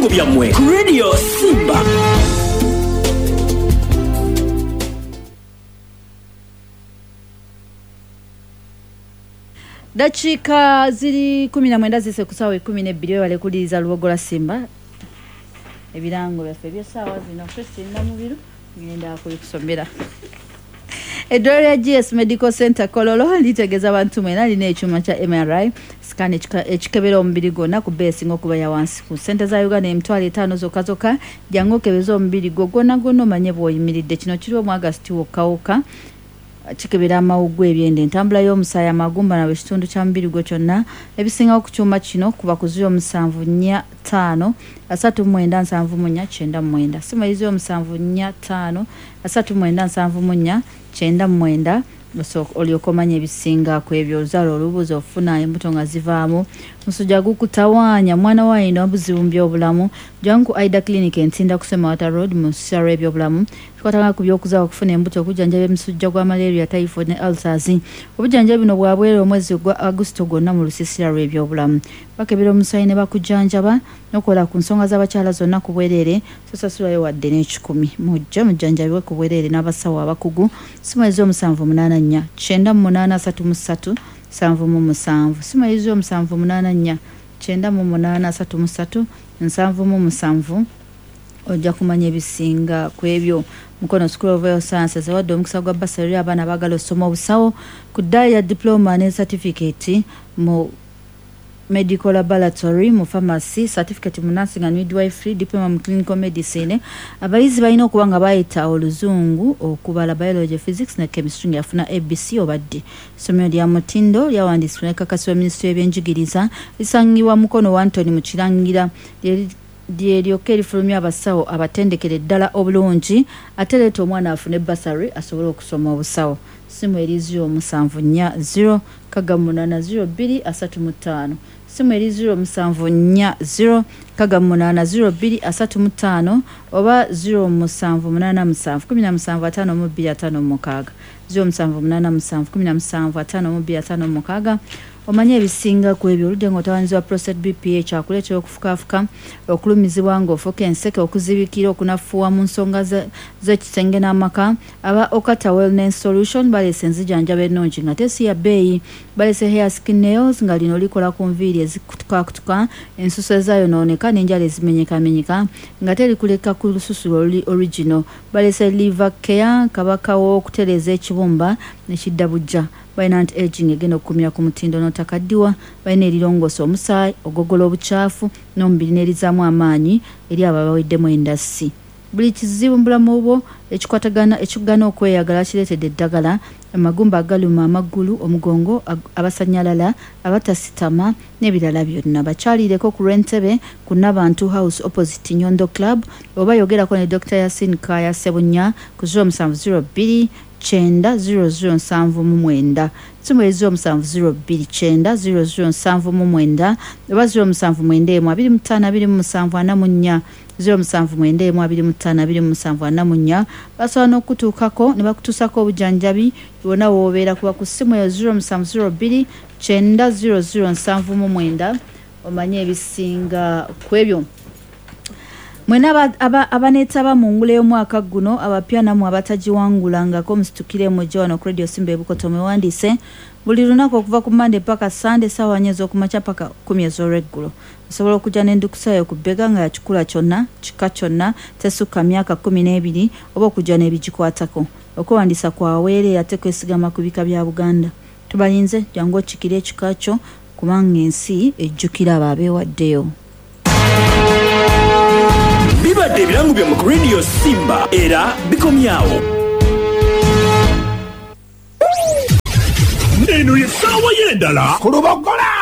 Ebirango byammwe ku Radio Simba. Dakiika ziri 19 zise ku ssaawa 12 webale kuwuliriza Lubogola Simba. Ebirango byaffe eby'essaawa zino Christine Namubiru ngenda kubikusomera. Eddwaliro lya GS Medical Center Kololo litegeeza abantu mwena lina ekyuma kya MRI scan ekikebera omubiri gwonna ku bbeeyi esinga okuba ya wansi ku ssente za Uganda 50,000 zokka zokka. Jangu okebeze omubiri gwo gwonna gwonna omanye bw'oyimiridde. Kino kiriwo mu August wokka wokka. Kikebera amawuggwe, ebyenda, entambula y'omusaayi, amagumba na buli kitundu kya mubiri gwo kyonna. Ebisingawo ku kyuma kino kuba ku 0745 39 74 99. Ssimu eri 0745 39 74 99 olyoke omanye ebisinga ku ebyo. Oluzaalo olubuuza ofuna embuto nga zivaamu, musujja gukutawaanya, mwana wo alina obuzibu mu byobulamu, jangu ku Aida Clinic e Ntinda ku Semawata Road mu lusisira lw'ebyobulamu. Tukwatagana ku by'okuzaala, okufuna embuto, okujjanjaba emisujja gwa malaria, typhoid ne ulcers. Obujjanjabi buno bwa bwereere omwezi gwa Agusto gwonna mu lusisira lw'ebyobulamu. Bakebera omusaayi ne bakujjanjaba n'okukola ku nsonga z'abakyala zonna ku bwereere, tosasulayo wadde n'ekikumi. Mujje mujjanjabibwe ku bwereere n'abasawo abakugu. Ssimu eri 0784 98 33 77. Ssimu eri 0784 98 33 77. Ojja kumanya ebisinga ku ebyo. Mukono School of Health Sciences ewadde omukisa gwa bursary eri abaana abaagala okusoma obusawo ku ddaala lya diploma ne certificate mu medical laboratory, mu pharmacy, certificate mu nursing and midwifery, diploma mu clinical medicine. Abayizi balina okuba nga bayita oluzungu, okubala, biology, physics ne chemistry nga yafuna ABC oba D. Essomero lya mutindo lyawandiisibwa nekakasibwa minisitule y'ebyenjigiriza. Lisangibwa Mukono Wantoni mu Kirangira. Lye lyokka erifulumya abasawo abatendekere ddala obulungi ate leeta omwana afune bursary asobole okusoma obusawo. Ssimu eri 0740 68 02 35. Ssimu eri 0740 68 02 35 oba 0787 17 52 56. 0787 17 52 56. Omanye ebisinga ku ebyo. Oludde ng'otawaanyizibwa prostate BPH akuleetera okufukaafuka, okulumizibwa ng'ofuka enseke, okuzibikira, okunafuwa mu nsonga z'ekisenge n'amaka. Aba Okata Wellness Solution baleese enzijanjaba ennungi nga te si ya bbeeyi. Baleese hair skin nails nga lino likola ku nviiri ezikutukakutuka, ensusu ezaayonooneka n'enjala ezimenyekamenyeka nga terikuleka ku lususu oluli original. Baleese liver care, kabaka w'okutereeza ekibumba ne kidda buggya. Balina anti aging egenda okukumira ku mutindo n'otakaddiwa. Balina erirongoosa omusaayi, ogogola obukyafu n'omubiri n'erizaamu amaanyi eri abo abaweddemu endasi. Buli kizibu mu bulamu bwo ekikwatagana ekikugana okweyagala kireetedde eddagala, amagumba agaluma amagulu, omugongo, abasannyalala, abatasitama n'ebirala byonna. Bakyalireko ku lw'e Ntebe ku Nabantu House opposite Nyondo Club oba yogerako ne Dokita Yasin Kaaya Ssebunya ku 0702 9 00 79. Ssimu eri 0702 9 00 79 oba 0791 25 27 44. 0791 25 27 44. Basobola n'okukutuukako ne bakutuusako obujjanjabi wonna w'obeera kuba ku ssimu eyo 0702 9 00 79 omanye ebisinga ku ebyo. Mwena abaneetaba mu ngule y'omwaka guno, abapya nammwe abatagiwangulangako, musitukire mujje wano ku Radio Simba e Bukoto mwewandiise buli lunaku okuva ku Monday paka Sunday ssaawa nnya ez'okumakya paka kkumi ez'olweggulo. Osobola okujja n'endukusa yo ku bbega nga ya kikula kyonna, kika kyonna, tesukka myaka 12 oba okujja n'ebigikwatako. Okwewandiisa kwa bwereere ate kwesigama ku bika bya Buganda. Tubalinze, jangu okikire ekika kyo kubanga ensi ejjukira abo abeewaddeyo. Bibadde ebirango byammwe ku Radio Simba era bikomye agho. Eno ye ssaawa y'endala ku Lubogola.